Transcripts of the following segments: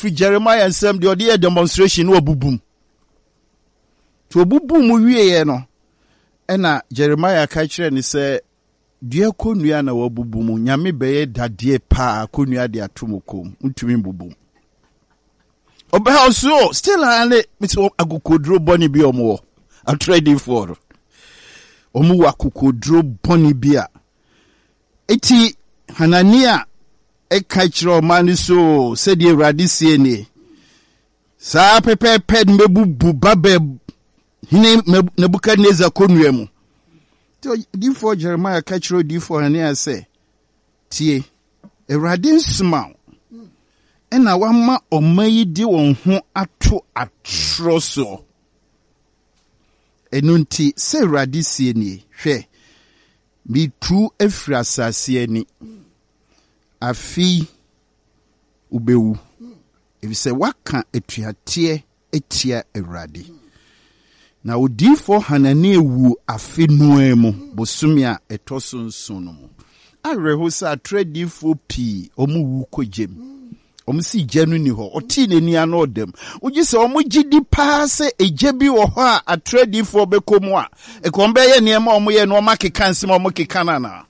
firi Jeremiah nsam deɛ ɔde yɛ demonstration na ɔbubum. Nti ɔbubuu mu wieɛ no, ɛna Jeremiah ka kyerɛ no sɛ, Dua kɔnnua na wabubu mu, Nyame bɛyɛ dadeɛ paa kɔnnua de ato mo kɔn mu, ntumi mbubu mu. Ɔbɛha ɔso still a ne mesɛ akokoduro bɔne bi ɔmo wɔ atorɛdifoɔ no ɔmo wɔ akokoduro bɔne bi a eti Hanania ɛka kyerɛ ɔman no so sɛdeɛ Awurade sie nie saa pɛpɛɛpɛ no mɛbubu Babel hene Nebukadnezar kɔnnua mu. Nti odiyifoɔ Jeremia ka kyerɛ odiyifoɔ Hanania sɛ, Tie, Awurade nsoma wo, ɛna wama ɔma yi de wɔn ho ato atorɔ soɔ. Ɛno nti, sɛ Awurade sie nie, hwɛ, metu afiri asase ani. Afei wobɛwu, ɛfiri sɛ woaka atuateɛ atia Awurade. Na odiyifoɔ Hanania wuu afe no ara mu, bosome a ɛtɔ so nson no mu. Awerɛho sɛ atorɔ adiyifoɔ pii, wɔwu kɔ gya mu. Wɔn si gya no ni hɔ. Ɔtee n'ani ano ɔda mu. Wogye sɛ wɔn gye di paa sɛ egya bi wɔ hɔ a atorɔ adiyifoɔ bɛkɔ mu a, ɛka wɔn bɛyɛ nneɛma a wɔyɛ na wɔn akeka nsɛm a wɔkeka no anaa?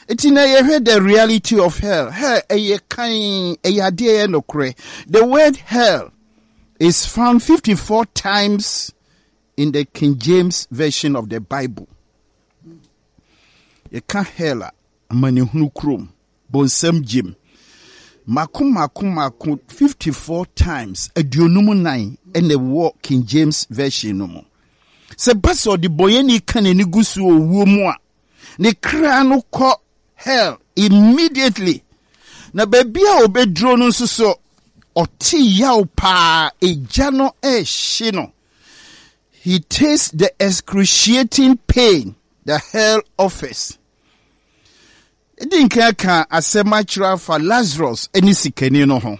Eti na yɛhwɛ the reality of hell. Hell ɛyɛ kan, ɛyɛ adeɛ ɛyɛ nokorɛ. The word hell is found 54 times in the King James Version of the Bible. Yɛka hell a, amanehunu kurom, bonsam gyem. Mako mako mako 54 times, 54 ɛna ɛwɔ King James Version no mu. Sɛ ba sɛ ɔdebɔyɛni ka n'ani gu so wɔ owuo mu a, ne kra no kɔ hell immediately. Na baabi a ɔbɛduro no nso so, ɔte yaw paa, egya no ɛrehye no. He tastes the excruciating pain the hell offers. Di nkan ka asɛm akyerɛ afa Lazarus ne sikani no ho.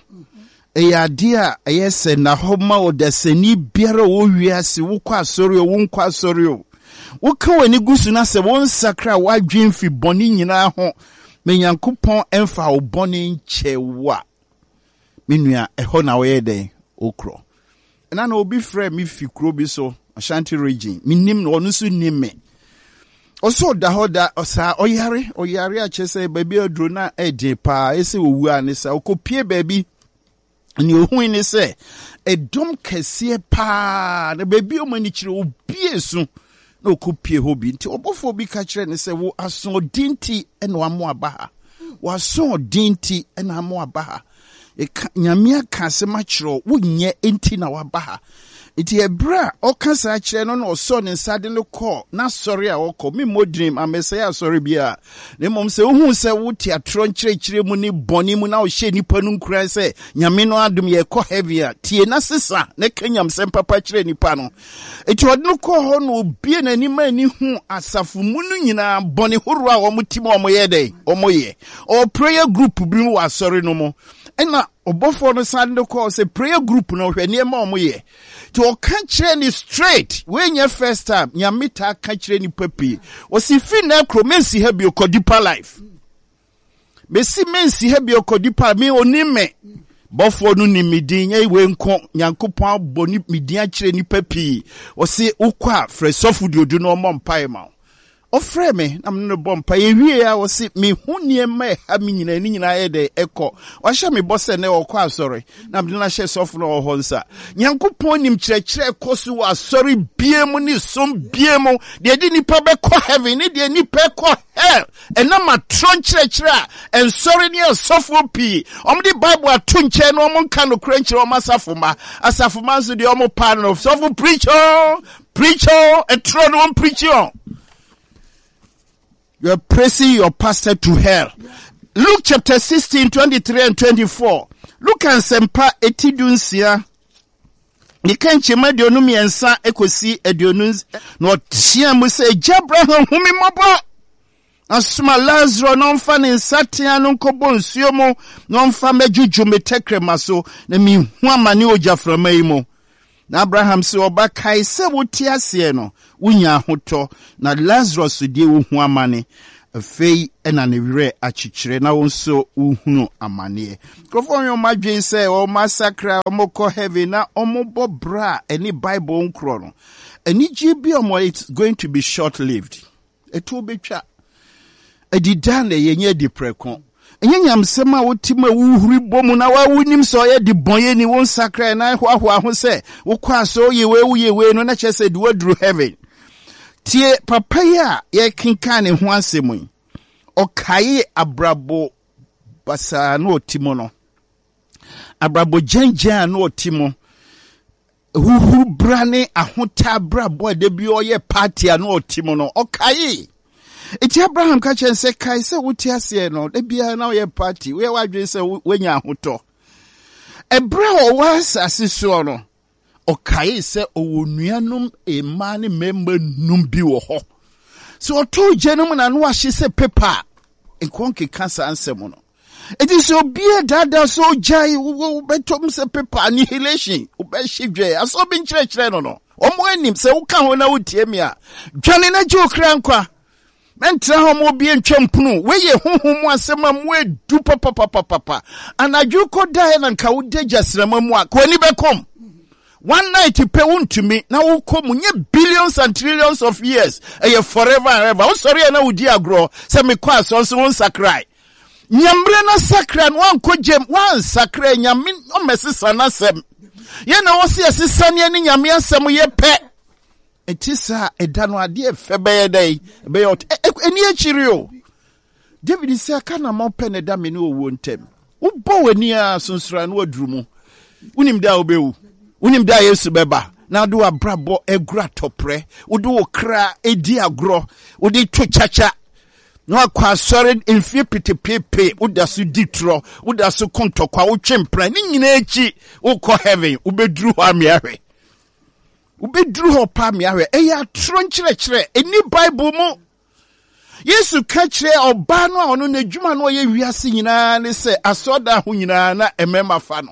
Ɛyɛ adeɛ a ɛyɛ sɛ na hɔ ma ɔdasani biara a ɔwɔ wiase, wokɔ asɔre o, wonkɔ asɔre o. Woka w'ani gu so na sɛ wonsakra w'adwene fi bɔne nyinaa ho ma Nyankopɔn mfa wo bɔne nkyɛ wo a, me nua, ɛhɔ na woyɛ dɛn? Wokorɔ. Ɛna na obi frɛ me fi kuro bi so, Ashanti region. Menim no, ɔno nso nim me. Ɔsɛ ɔda hɔ da ɔsaa ɔyare, ɔyare akyerɛ sɛ baabi aduro na ɛden paa, ɛsɛ owu a ne sa. Ɔkɔpie baabi, nea ohui ne sɛ ɛdɔm kɛseɛ paa na baabi ɔmo ani kyerɛ obie so na ɔkɔpie hɔ bi. Nti ɔbɔfoɔ bi ka kyerɛ ne sɛ wo asoɔden nti na wamo aba ha. W'asoɔden nti na amo aba ha. Eka, Nyame aka asɛm akyerɛ wo, wonyɛ nti na waba ha. Nti ɛberɛ a ɔka saa kyerɛ no na ɔsɔɔ ne nsa de no kɔɔ n'asɔre a ɔkɔ. Memmɔ din, mammɛsɛe asɔre biara. Na mmom sɛ wohu sɛ wote atorɔ nkyerɛkyerɛ mu ne bɔne mu na wohyɛ nnipa no nkuran sɛ Nyame no adom yɛkɔ heaven a, tie na sesa na ka nyamsɛm papa kyerɛ nnipa no. Enti ɔde no kɔɔ hɔ na obue n'ani ma ani hu asafo mu no nyinaa bɔne horow a wɔn ti mu a wɔyɛ dɛn wɔyɛ. Ɔwɔ prayer group bi mu wɔ asɔre no mu. Ɛna ɔbɔfoɔ no san de kɔɔ sɛ prayer group no hwɛ nneɛma a wɔyɛ. Nti ɔka kyerɛ ne straight, wei nyɛ first time, Nyame taa ka kyerɛ nipa pii. Ɔsi fi nnɛ koro mensi ha bio kɔ deeper life. Mesi mensi ha bio kɔ deeper me onim me. Bɔfoɔ no nim me din, nyɛ wei nko, Nyankopɔn abɔ ne me din akyerɛ nipa pii. Ɔse wokɔ a frɛ sɔfo Duodu na ɔmmɔ mpae ma wo. Ɔfrɛɛ me na me ne no bɔ mpae. Yɛwiee a ɔse mehu nneɛma a ɛha me nyinaa, ne nyinaa yɛ dɛn ɛkɔ. Wahyɛ me bɔ sɛ nnɛ ɔkɔ asɔre na mede no ahyɛ sɔfo no a ɔwɔ hɔ nsa. Nyankopɔn nim kyerɛkyerɛ ɛkɔ so wɔ asɔre bie mu ne som bie mu, deɛ ɛde nipa bɛkɔ heaven ne deɛ nipa ɛkɔ hell. Ɛnam atorɔ nkyerɛkyerɛ a nsɔre ne asɔfoɔ pii wɔde Bible ato nkyɛn na wɔn nka nokorɛ nkyerɛ wɔn asafo mma. Asafo mma nso deɛ wɔn paa no, sɔfo preach o, preach o, ɛtorɔ no wɔn preach o. You are praising your pastor to hell. Luke chapter 16, 23 and 24. Luke nsɛmpa eti dunsia. Ne ka nkyɛmu 23 kɔsi aduonu na ɔteaa mu sɛ, Agya Abraham, hu me mmɔbɔ! Na soma Lasaro na ɔmfa ne nsateaa no nkɔbɔ nsuo mu na ɔmfa mmɛdwodwo me tɛkrɛma so, na mehu amane ogyaframa yi mu. Na Abraham se, Ɔba, kae sɛ wote aseɛ no, wonya ahotɔ, na Lasaro deɛ, ohu amane. Afei na ne werɛ akyekyerɛ na wo nso wohunu amaneɛ. Nkurɔfoɔ yɛ wɔn adwene sɛ wɔn asakra, wɔkɔ heaven na wɔbɔ bra a ɛne Bible nkorɔ no. Anigyeɛ bi a wɔn it's going to be short lived. Ɛtoɔ bɛtwa. Adida na ɛyɛ nyɛ adi prɛko. Ɛnyɛ nyamesɛm a wote mu a wohuri bɔ mu na wa wonim sɛ ɔyɛ de bɔnyɛni wo nsakra na hoahoa ho sɛ wokɔ asɔ woyɛ wei woyɛ wei no na kyerɛ sɛ de woaduru heaven. Tie papa yi a yɛkenkan ne ho asɛm yi. Ɔkae abrabɔ basaa na ɔte mu no. Abrabɔ gyɛngyɛn a na ɔte mu. Huhuru bra ne ahotɛ abrabɔ a da bi ɔyɛ party a na ɔte mu no, ɔkaee. Enti Abraham ka kyerɛ no sɛ, kae sɛ wote aseɛ no, da biara na ɔyɛ party, woyɛ w'adwene sɛ woanya ahotɔ. Ɛberɛ a ɔwɔ asase soɔ no, ɔkaee sɛ ɔwɔ nuanom mmaa ne mmarima num bi wɔ hɔ. Sɛ ɔtoo gya no mu na ano ahye sɛ pepa a, nkɔ nkeka saa nsɛm no. Enti sɛ obi adaadaa sɛ ogyae wobɛtɔm sɛ pepa annihilation wobɛhye dwɛ asɛ obi nkyerɛkyerɛ no no wɔn anim sɛ woka ho na wotie me a dwane na gye okra nkwa mɛntra hɔ ma obi ntwa mpono wei yɛ honhom mu asɛm a mu edu papapapapa anadwo kɔ daeɛ na nka woda gyasrama mu a ka w'ani bɛkɔm one night pɛ wontumi na wokɔ mu nyɛ billions and trillions of years ɛyɛ forever and ever wosɔre a na wodi agorɔ sɛ mekɔ asɔ nso wo nsakrae Nyammerɛ no sakra no wankɔ gyam wansakra nyame ɔmmɛsesa n'asɛm yɛn na wɔsi ɛsesa ne ɛne nyame asɛm yɛ pɛ ɛti saa ɛda no adeɛ fɛ bɛyɛ dɛn ɛbɛyɛ ɔt ɛni akyiri o David sɛ aka na mɔpɛ ne da me ne owuo ntɛm wobɔ w'ani a sonsora no aduru mu wonim da a wobɛwu wonim da a Yesu bɛba na wode w'abrabɔ agura tɔprɛ wode wo kra ɛdi agorɔ wode to kyakya na wakɔ asɔre mfie petepepe woda so di torɔ woda so ko ntɔkwa wotwe mpena ne nyinaa akyi wokɔ heaven wobɛduru hɔ amea hwɛ wobɛduru hɔ pa amea hwɛ ɛyɛ atorɔ nkyerɛkyerɛ ɛni bible mu yesu ka kyerɛ ɔbaa no a ɔno n'adwuma no ɔyɛ wiase nyinaa ne sɛ asɔredan ho nyinaa na mmarima fa no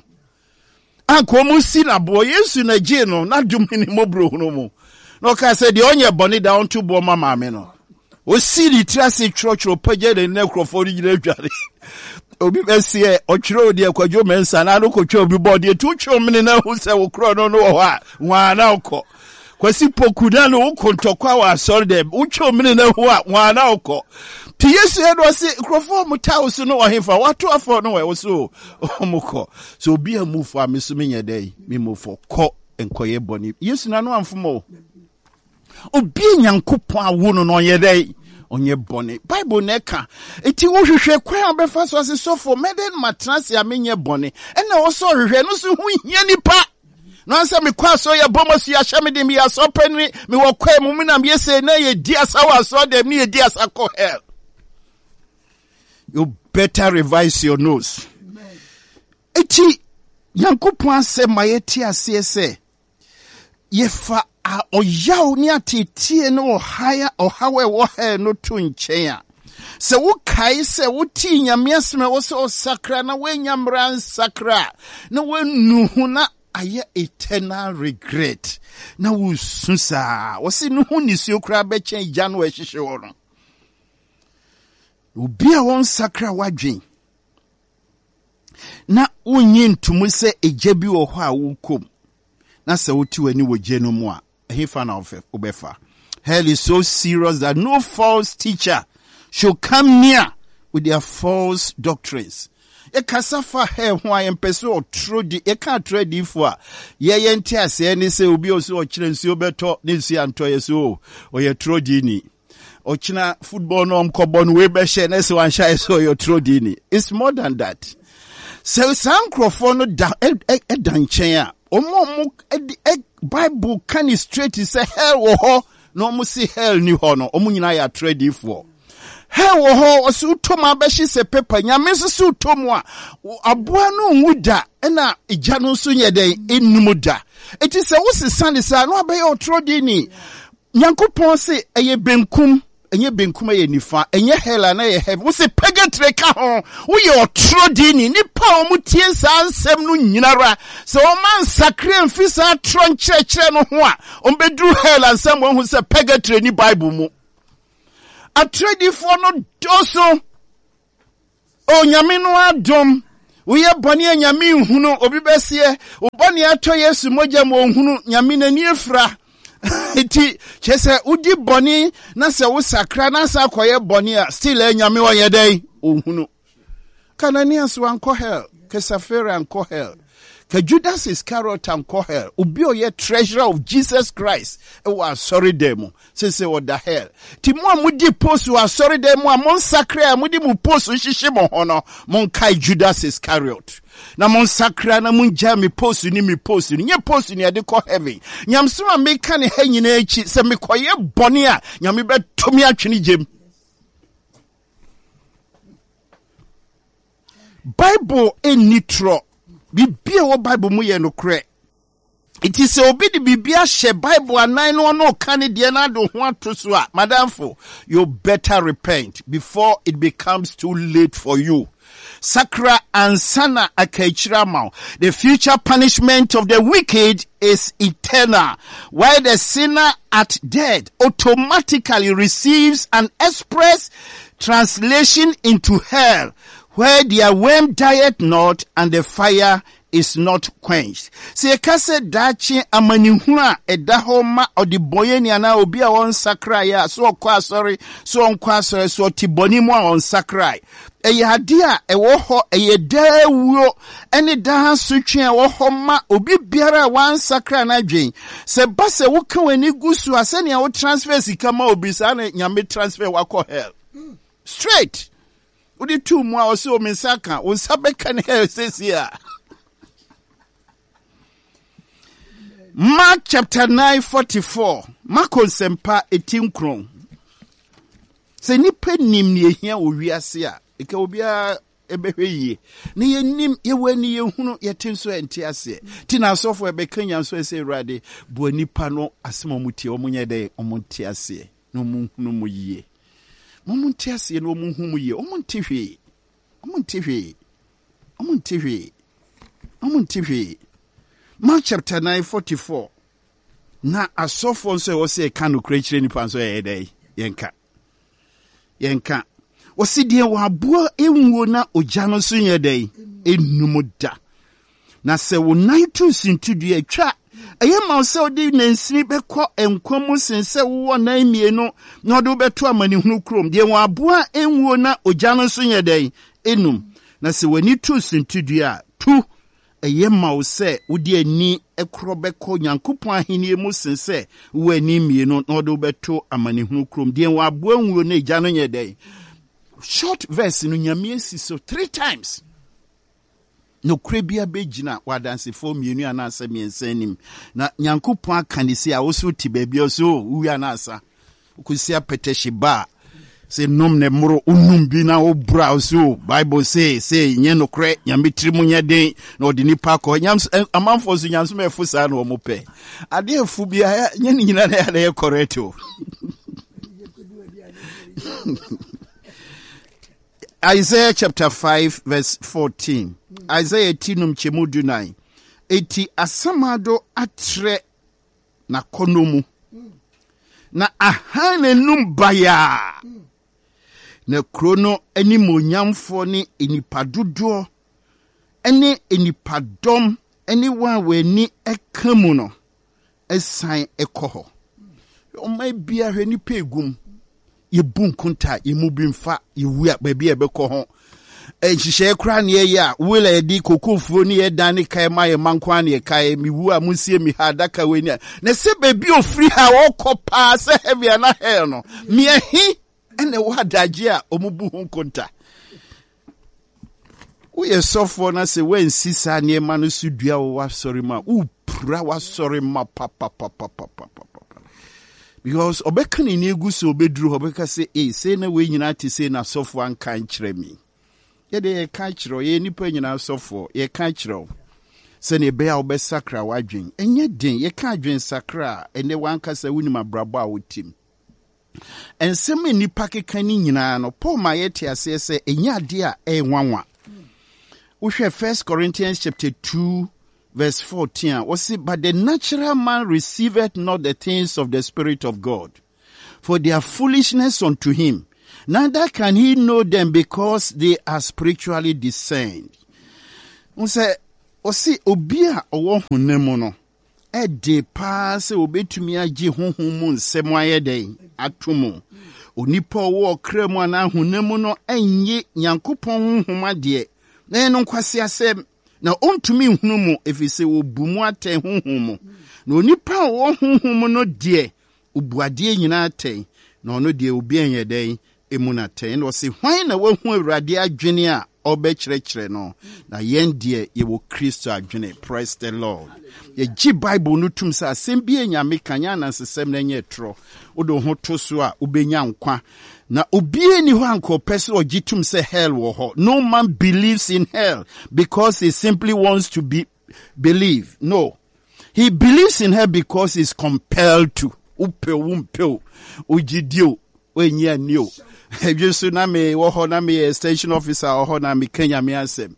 Anka wɔn si no aboɔ. Yesu na gyee no n'adom ne mmɔborɔhunu mu. Na ɔkaa sɛ deɛ ɔnyɛ bɔne da ɔnto boɔ ma maame no. Ɔsii ne tiri ase twerɛtwerɛ pagya ne nɛ nkurɔfoɔ no nyina adwane. Obi bɛseɛ ɔtwerɛ deɛ kwadwo mɛnsa na ano kɔtwa obi bɔɔ deɛ tu twɛ mene na ahu sɛ wo korɔ no no wɔ hɔ a nwaa na wokɔ. Kwasi Poku na no wokɔ ntɔkwa wɔ asɔre dɛm wotwe omene na hu a wɔn na wokɔ. Ti Yesu yɛ no ɔse nkurɔfoɔ a wɔtaa wo so no wɔ hefa wɔato afɔ no wɔ ɛwɔ so wɔn kɔ. So obi a mu fo a me so menyɛ dɛ me mu fo kɔ nkɔyɛ bɔne. Yesu na no amfom o. Obi a Nyankopɔn awo no no ɔnyɛ dɛ ɔnyɛ bɔne. Bible na ɛka. Eti wohwehwɛ kwan a wobɛfa so ase sɔfo mɛdɛn matena ase a menyɛ bɔne. Ɛna ɛwɔ sɛ ɔhwehwɛ no so ho hia nipa. Na sɛ mekɔ asɔre yɛ bɔ masu ahyɛ me den meyɛ asɔre panini mewɔ kwae mu menam yɛ sei na yɛdi asa wɔ asɔre dɛm ne yɛdi asa kɔ hell. You better revise your nose. Eti Nyankopɔn asɛm ma yɛte aseɛ sɛ yɛfa ɔyaw ne ateeteɛ ne ɔhaw a ɛwɔ hell no to nkyɛn a, sɛ wokae sɛ wotee Nyame asɛm a ɛwɔ sɛ ɔsakra na woanya mmara nsakra a, na woanu ho na ayɛ eternal regret na wosu saa. Wɔse no ho nisuo koraa bɛkyɛn gya no a ɛhyehye hɔ no. Obi a wɔnsakra w'adwen na wonnye ntomu sɛ egya bi wɔ hɔ a wokɔ mu, na sɛ wote w'ani wɔ gya no mu a, ɛhefa na wobɛfa? Hell is so serious that no false teacher should come near with their false doctrines. Yɛkasa fa hell ho a yɛmpɛ sɛ ɔtoro di yɛka atoro adiifo a yɛyɛ nte aseɛ ne sɛ obi a ɔsɛ ɔkyerɛ nsuo bɛtɔ ne nsuo antɔ yɛ so o ɔyɛ toro diini. Ɔkyena football no ɔmkɔbɔ no wei bɛhyɛ na sɛ wanhyɛ ayɛ sɛ ɔyɛ ɔtoro diini. It's more than that. Sɛ saa nkurɔfoɔ no da ɛda nkyɛn a wɔn a wɔn Bible ka ne straight sɛ hell wɔ hɔ na wɔn se hell ni hɔ no wɔn nyinaa yɛ atorɔ adiifoɔ. Hell wɔ hɔ ɔsɛ wotɔ mu abɛhye sɛ paper nyame nso sɛ wotɔ mu a aboa no nwu da ɛna egya no nso nyɛ dɛn enum da. Eti sɛ wosesa ne saa na wabɛyɛ ɔtorɔ diini. Nyankopɔn se ɛyɛ benkum, ɛnyɛ benkum ɛyɛ nifa, ɛnyɛ hell ana ɛyɛ heaven. Wose purgatory ka ho. Woyɛ ɔtorɔ dini. Nipa a wɔn tie saa nsɛm no nyinara, sɛ wɔn ansakra mfi saa torɔ nkyerɛkyerɛ no ho a, wɔn bɛduru hell ansa ma wɔahu sɛ purgatory ni Bible mu. Atorɔdifoɔ no dɔɔso. Onyame no adom. Woyɛ bɔne a Nyame nhunu, obi bɛseɛ, wo bɔne atɔ Yesu mogya mu ɔnhunu, Nyame n'ani afira. Nti, kyerɛ sɛ wodi bɔne na sɛ wosakra na asan akɔyɛ bɔne a, still ɛ Nyame ɔnyɛ dɛn? Ɔnhunu. Ka Ananias wankɔ hell, ka Safira ankɔ hell, ka Judas Iscariot ankɔ hell, obi a ɔyɛ treasurer of Jesus Christ wɔ asɔredan mu, sese ɔda hell. Ti mo a modi post wɔ asɔredan mu a monsakra a mode mo post hyehye mo ho no, monkae Judas Iscariot. Na monsakra na mongyaa me post ne me post no. Nyɛ post ne ɛde kɔ heaven. Nyamesɛm a meka ne ha nyinaa akyi, sɛ mekɔyɛ bɔne a, Nyame bɛto me atwene gyem. Bible nni torɔ. Biribi a ɛwɔ Bible mu yɛ nokorɛ. Nti sɛ obi de biribi ahyɛ Bible anan no ɔno ɔka ne deɛ no ade ho ato so a, madamfo, you better repent before it becomes too late for you. Sakra ansa na aka akyiri ama wo. The future punishment of the wicked is eternal, while the sinner at death automatically receives an express translation into hell, where their worm dieth not and the fire is not quenched. Sɛ yɛka sɛ daakye amanehunu a ɛda hɔ ma ɔdebɔneyɛni anaa obi a ɔnsakraeɛ a, sɛ ɔkɔ asɔre, sɛ ɔnkɔ asɔre, sɛ ɔte bɔne mu a ɔnsakrae, ɛyɛ ade a ɛwɔ hɔ, ɛyɛ daa wuo ne daa asotwe a ɛwɔ hɔ ma obi biara a wansakra n'adwen. Sɛ ɛba sɛ woka w'ani gu so a, sɛnea wo transfer sika ma obi saa na Nyame transfer wakɔ hell. Straight. Wode tuu mu a ɔsɛ o me nsa ka, wo nsa bɛka ne hell sɛsi a. Mark chapter 9 44 Marko nsɛmpa eti nkron. Sɛ nnipa nim nea ehia wɔ wiase a, nka obiara bɛhwɛ yie. Na yɛnim, yɛwɔ ani, yɛhunu, yɛte nso ɛnte aseɛ. Nti na asɔfo ɛbɛka nya nso sɛ Awurade, boa nnipa no asɛm a wɔtie, wɔn nyɛ dɛn, wɔn nte aseɛ na wɔn nhunu mu yie. Wɔn nte aseɛ na wɔn nhu mu yie. Wɔn nte hwee. Wɔn nte hwee. Wɔn nte hwee. Wɔn nte hwee. Mark chapter 9 44. Na asɔfoɔ nso ɛwɔ sɛ yɛka nokorɛ kyerɛ nipa nso ɛyɛ dɛ yɛnka yɛnka wɔsi deɛ wɔaboa nwuo na ogya no nso nyɛ dɛ enum da na sɛ wo nan tu sintidua atwa ɛyɛ ma wo sɛ wode nansini bɛkɔ nkwa mu sen sɛ wowɔ nan mmienu na ɔde wobɛto amanehunu kurom deɛ wɔaboa nwuo na ogya no nso nyɛ dɛ enum na sɛ w'ani tu sintidua a tu Eye ma wo sɛ wode ani korɔ bɛkɔ Onyankopɔn ahennie mu sen sɛ wowɔ ani mmienu na wɔde wo bɛto amanehunu kurom. Deɛ wɔn aboa nwuo na egya no nyɛ dɛn? Short verse no Nyame asi so three times. Nokorɛ bia bɛgyina wɔ adansefoɔ mmienu anaasɛ mmiɛnsa anim. Na Nyankopɔn aka ne sei a wo so te baabi a so wowie anaasa. Wokɔsi apɛtɛhye ba a, sɛ nom na mmoro, wonum bi na woboro a, so Bible se se nyɛ nokorɛ, Nyame tiri mu nyɛ den na ɔde nipa kɔ. Nyams amanfoɔ nso nyamesom ɛfo saa na wɔn pɛ. Adeɛ ɛfo bi a nyɛ ne nyinaa na ɛyɛ na ɛyɛ correct o. Isaiah chapter 5 verse 14. Isaiah ti num kyɛmu du nan. Eti asamado atrɛ n'akɔnnɔ mu, na ahan n'anum bayaa. Na kuro no animuonyamfoɔ ne nnipa dodoɔ ne nnipadɔm ne wɔn a wɔn ani ka mu no san kɔ hɔ. Ɔman biara hwɛ nnipa egum. Yɛbu nkonta, yɛn mu bi mfa, yɛwu a baabi a yɛbɛkɔ ho. Nhyehyɛeɛ koraa ne yɛyɛ a, will a yɛde kokofuo ne yɛ dan ne kae ma yɛ mma nko ara ne yɛkae. Mewu a monsie me ha, adaka wei ne a. Na sɛ baabi a ofiri ha ɔkɔ paa sɛ heaven anaa hell no, meɛhe ɛna ɛwɔ adagye a wɔbu ho nkonta. Woyɛ sɔfoɔ na sɛ woansi saa nneɛma no so dua wɔ w'asɔre mu a, wopira w'asɔre ma papapapapapapa. Because ɔbɛka n'ani agu so ɔbɛduru hɔ ɔbɛka sɛ ei sei na wei nyinaa te sei na sɔfoɔ anka nkyerɛ me. Yɛde yɛka kyerɛ wo, yɛyɛ nnipa nyinaa sɔfoɔ, yɛka kyerɛ wo sɛnea ɛbɛyɛ a wobɛsakra w'adwen. Ɛnyɛ den, yɛka adwen sakra a, ɛnɛ w'ankasa wonim abrabɔ a wotim. Nsɛm a nnipa keka no nyinaa no, Paul ma yɛte aseɛ sɛ ɛnyɛ adeɛ a ɛyɛ nwanwa. Wohwɛ 1 Corinthians chapter 2 verse 14 a, wɔse, But the natural man receiveth not the things of the Spirit of God, for they are foolishness unto him. Neither can he know them because they are spiritually discerned. N sɛ ɔse obi a ɔwɔ honam mu no, ɛde paa sɛ obetumi agye honhom mu nsɛm ayɛ dɛn ato mu. Onipa a ɔwɔ ɔkra mu anaa honam mu no nnye Nyankopɔn honhom adeɛ, na ɛyɛ no nkwaseasɛm. Na ɔntumi nhunu mo, ɛfiri sɛ wɔbu mo atɛn honhom mu. Na onipa a ɔwɔ honhom mu no deɛ, ɔbu adeɛ nyinaa atɛn, na ɔno deɛ obi nyɛ dɛn mmu no atɛn. Ɛnna ɔse, Hwan na wahu Awurade adwene a ɔbɛkyerɛkyerɛ no? Na yɛn deɛ, yɛwɔ Kristo adwene. Praise the Lord. Yɛgye Bible no tom sɛ asɛm bi a Nyame ka nyɛ anansesɛm na ɛnyɛ torɔ. Wode wo ho to so a, wobɛnya nkwa. Na obiara nni hɔ a anka ɔpɛ sɛ ɔgye tom sɛ hell wɔ hɔ. No man believes in hell because he simply wants to be believe. No. He believes in hell because he's compelled to. Wopɛ o, wompɛ o, wogye di o, woannye anni o. Ɛdwe so na mewɔ hɔ na meyɛ extension officer wɔ hɔ na meka Nyame asɛm.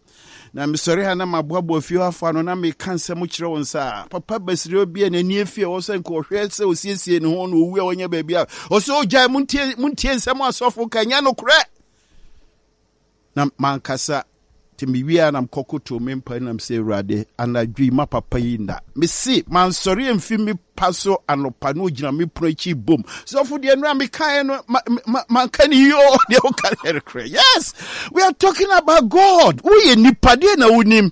Na mesɔre a na maboaboa fie hɔ afo ano na meka nsɛm kyerɛ wɔn saa. Papa Basirewa bi a n'ani afi a ɛwɔ sɛ nka ɔhwɛ sɛ osiesie ne ho na owu a ɔnyɛ baabi a ɔsɛ ogyae muntie muntie nsɛm asɔfo ka nyɛ nokorɛ. Na mankasa nti mewie a na mekɔkotow me mpa nam sɛ Awurade anadwo yi ma papa yi nna. Mese mansɔre amfi me pa so anɔpa na ogyina me pono akyi bom. Sɔfo deɛ nnora mekaeɛ no manka ne yie o deɛ woka no yɛ Yes, we are talking about God. Woyɛ nipa deɛ na wonim.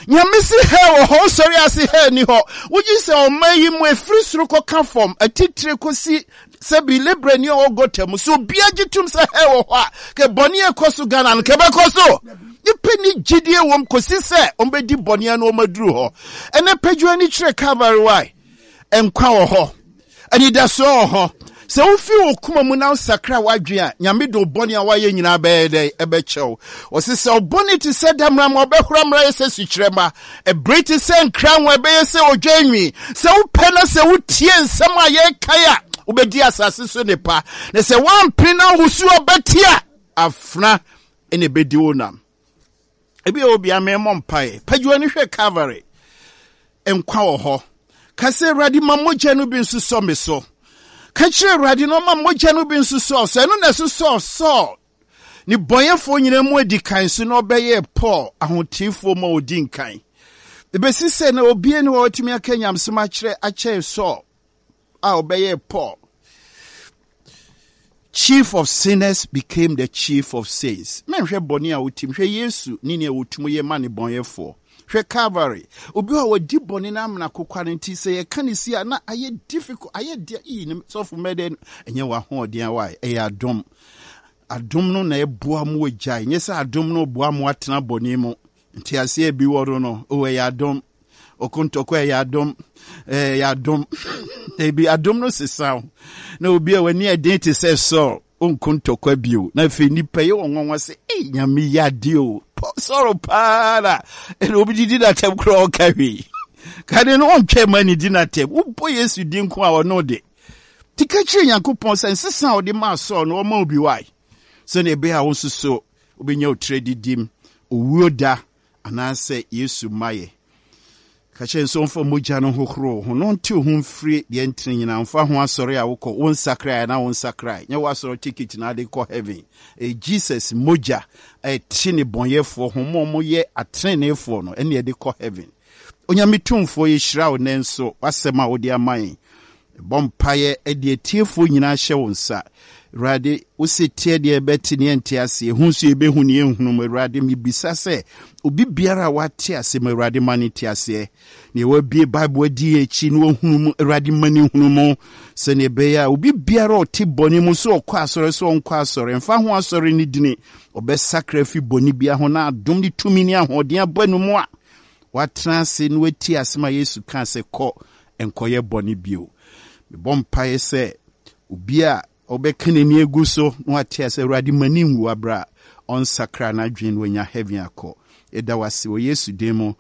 Nyame se hell wɔ hɔ, wosɔre ase hell ni hɔ. Wogye sɛ ɔman yi mu ɛfiri soro kɔka fam, atitire kɔsi sɛbi lebrani a ɔwɔ gɔta mu. So obiara gye tom sɛ hell wɔ hɔ a, kɛ bɔne a ɛkɔ so Ghana no kɛbɛkɔ so. Nipa ni gyidie wɔm kɔsi sɛ ɔmbɛdi bɔne ano ɔmaduru hɔ. Ɛnɛ pɛdwo ani kyerɛ Calvary why? Nkwa wɔ hɔ. Anidasoɔ wɔ hɔ. Sɛ wofi wo koma mu na wosakra w'adwene a, Nyame de wo bɔne a woayɛ nyinaa bɛyɛ dɛn? Ɛbɛkyɛ wo. Ɔse sɛ wo bɔne te sɛ damena ma ɔbɛhora mmra yɛ sɛ sukyerɛmma. Ɛbere te sɛ nkranwa ɛbɛyɛ sɛ odwan nwi. Sɛ wopɛ na sɛ wotie nsɛm a yɛreka yi a, wobɛdi asase so nnepa. Na sɛ woampene na wosu ɔbɛte a, afena na ɛbɛdi wo nam. Ebi a obi amee mmɔ mpae. Pagye w'ani hwɛ Calvary. Nkwa wɔ hɔ. Ka sɛ, Awurade, ma mogya no bi nsosɔ me so. Ka kyerɛ Awurade na ɔma mogya no bi nsosɔ so. Ɛno na ɛsosɔɔ Saul ne bɔnyɛfoɔ nyinaa mu adi kan so na ɔbɛyɛɛ Paul ahoteefoɔ mu a ɔdi nkan. Ebesi sɛ na obiara ni hɔ a ɔtumi aka nyamesɛm akyerɛ akyɛn Saul. a ɔbɛyɛɛ Paul. Chief of sinners became the chief of saints. Mɛnhwɛ bɔne a wotim, hwɛ Yesu ne nea wɔtum yɛ ma ne bɔnyɛfoɔ. Hwɛ Calvary. Obi a wadi bɔne no amena kokwa no nti sɛ yɛka ne si a na ayɛ difficult, ayɛ deɛ iyi ne sɔfo mɛdɛ ɛnyɛ w'ahoɔden a wae, ɛyɛ adom. Adom no na ɛboa mo agyae, nyɛ sɛ adom no boa mo atena bɔne mu. Nteaseɛ bi wɔ no no, o ɛyɛ adom. Okontɔkɔ ɛyɛ adom, ɛyɛ adom. Ebi adom no sesa wo. Na obi a w'ani ɛden te sɛ Saul, onko ntɔkwa bio. Na afei nipa yɛ wɔn nwanwa sɛ, ei nyame yɛ adeɛ o. Saul paa na ɛna obi didi n'atɛm koraa ɔka hwee. Kane no ɔntwɛn ma ne di n'atɛm. Wobɔ Yesu din ko a ɔno de. Ti ka kyerɛ Nyankopɔn sɛ nsesa a ɔde maa Saul no ɔma obi wae. Sɛnea ɛbɛyɛ a wo nso so Wobɛnya wo tiri adidim owuo da anaasɛ Yesu mmaeɛ. Ka kyerɛ no sɛ ɔmfa mogya no nhohoro wo ho na ɔnte wo ho mfiri deɛ ntene nyinaa. Mfa ho asɔre a wokɔ, wo nsakrae anaa wo nsakrae. Nyɛ w'asɔre ticket na ade kɔ heaven. Ɛyɛ Jesus mogya a ɛte nnebɔneyɛfoɔ ho ma wɔyɛ ateneneefoɔ no ɛne ɛde kɔ heaven. Onyame Tumfoɔ yɛhyira wo nnɛ nso w'asɛm a wode ama yɛn. Mebɔ mpaeɛ de atiefoɔ nyinaa hyɛ wo nsa. Awurade, wo se teɛ deɛ yɛbɛte ne yɛnte aseɛ, hu nso yɛbɛhu ne yɛnhunu mu. Awurade, mebisa sɛ obi biara a wate ase ma Awurade ma no nte aseɛ. Nea wabue Bible adi yɛn akyi na wahunu mu, Awurade ma no nhunu mu. Sɛnea ɛbɛyɛ a obi biara a ɔte bɔne mu, sɛ ɔkɔ asɔre sɛ ɔnkɔ asɔre, mfa ho asɔre no dini, ɔbɛsakra afi bɔne biara ho na adom ne tumi ne ahoɔden aba no mu a watena ase na watie asɛm a Yesu kaa sɛ kɔ nkɔyɛ bɔne bio. Mebɔ mpaeɛ sɛ obi a ɔbɛka n'ani agu so na wate ase Awurade ma ne nwu aberɛ a ɔnsakra n'adwene na wanya heaven akɔ. Yɛda wo ase wɔ Yesu din mu.